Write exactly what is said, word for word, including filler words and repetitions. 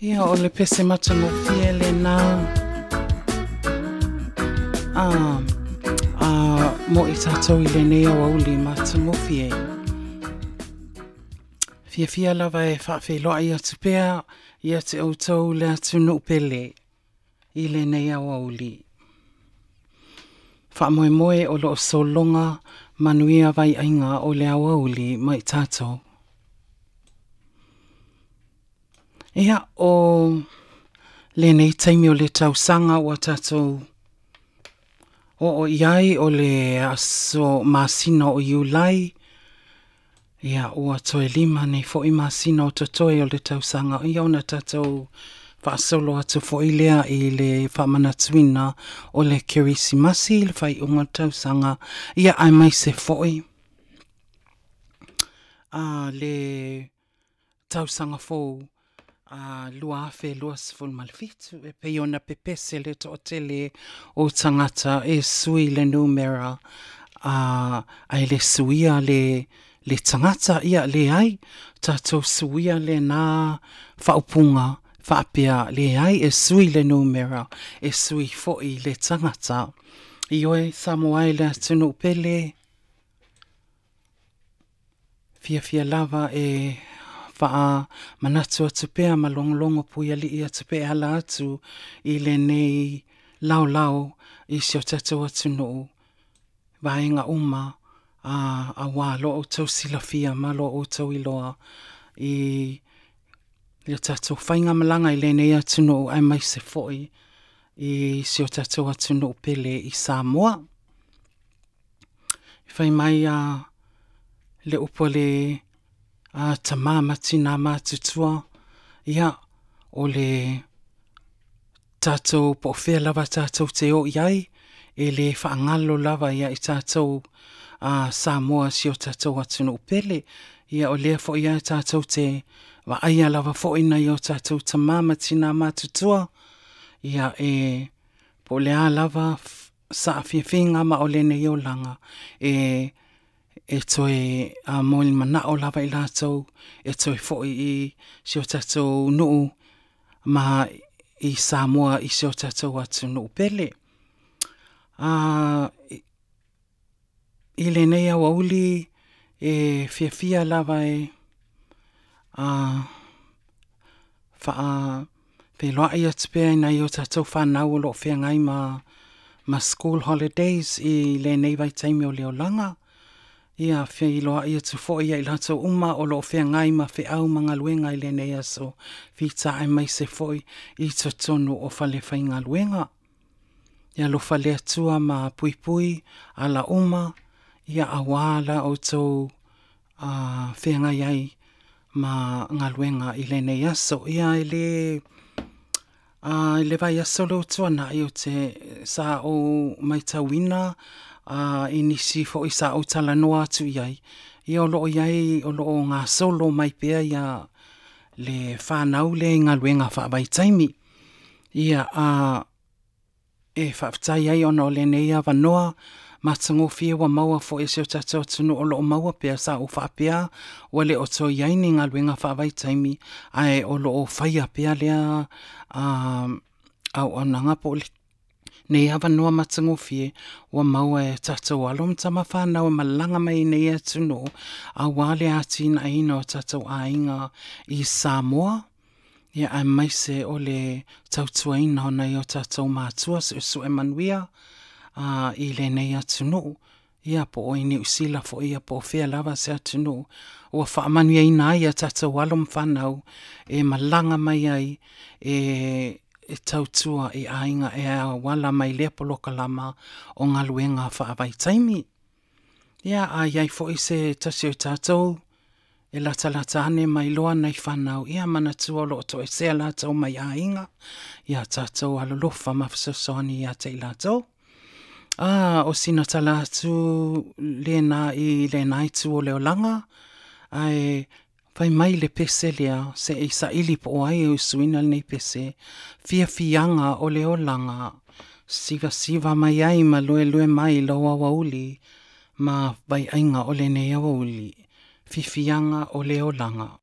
Ia, o le pese matagofie lenā. A, a mo i tātou i lenei aoauli matagofie. Fiafia lava e faafeiloai atu pea ia te outou le atunuu pele i lenei aoauli. Faamoemoe o loo sologa manuia vaiaiga o le aoauli ma i tatou. Ia, o lenei taimi o le tausaga ua tatou oo i ai o le aso masina o Iulai, ia ua toe lima nei foi masina o totoe o le tausaga, ia ona tatou faasolo atu foi lea i le faamanatuina o le Kerisimasi i le faaiuga o le tausaga, ia aemaise foi a le tausaga fou a lua afe luasefulu ma le fitu, e pei ona pepese le toatele o tagata e sui le numera a ae le suia le le tagata. Ia leai, tatou suia lena faaupuga faapea, leai, e sui le numera, e sui foi le tagata. Ioe, Samoa e le atunuu pele, fiafia lava e faamanatu atu pea ma logologo puialii atu pea e ala atu i lenei laolao i si o tatou atunuu vaega uma a auā lo outou silafia ma lo outou iloa i le tatou faigamalaga i lenei atunuu aemaise foi i si o tatou atunuu pele i Samoa. Fai mai a le upu a le a tama ma tina matutua, ia o le tatou po o fea lava tatou te o i ai, e le faagalo lava ia i tatou a Samoa si o tatou atunuu pele. Ia o lea foi lava tatou te vaaia lava foi nai o tatou tama ma tina matutua, ia e po o le a lava saafiafiga ma o lenei olaga, e e toe a molimanaao lava i latou e toe foi i si o tatou nuu ma i Samoa i si o tatou atunuu pele. A I lenei aoauli e fiafia lava e a faafeiloai atu pea i nai o tatou fanau o loo feagai ma ma school holidays i lenei vaitaimi o le olaga. Ia feiloai atu foi ia i latou uma o loo feagai ma feau ma galuega i lenei aso fita aemaise foi i totonu o falefaigaluega. Ia alofa le Atua ma puipui ala uma, ia auā la outou a feagai ai ma galuega i lenei aso. Ia e le a i le vaiaso lea ua tuanai ou te sa ou matauina a i nisi foi sa ou talanoa atu i ai, ia o loo i ai o loo gasolo mai pea ia le fanau lea i galuega faavaitaimi. Ia a e faafetai ai ona o lenei avanoa matagofie ua maua foi e si o tatou atunuu o loo maua pea. Sa ou faapea ua le o toe i ai ni galuega faavaitaimi, ae o loo faia pea lea a auaunaga po o lenei avanoa matagofie ua maua e tatou alo ma tama fanau e malaga mai i nei atunuu aua le atinaeina o tatou aiga i Samoa, ia aemaise o le tautuaina o nai o tatou matua suesue manuia a i lenei atunuu, ia po o i Niu Sila foi, ia po o fea lava se atunuu ua faamanuiaina ai ia tatou alo ma fanau e malaga mai ai e e tautua i aiga e auala mai lea polokalama o galuega faavaitaimi. Ia a i ai foi se tasi o tatou e latalata ane ma iloa nai fanau, ia manatua o loo toesea latou mai aiga, ia tatou alolofa ma fesoasoani ia te i latou. A o sina tala atu lena i lena itu o le olaga, ae fai mai le pese lea se i saili po o ai e usuina lenei pese, fiafiaga o le olaga, sivasiva mai ai ma luelue mai lou aoauli ma vaiaiga o lenei aoauli, fiafiaga o le olaga.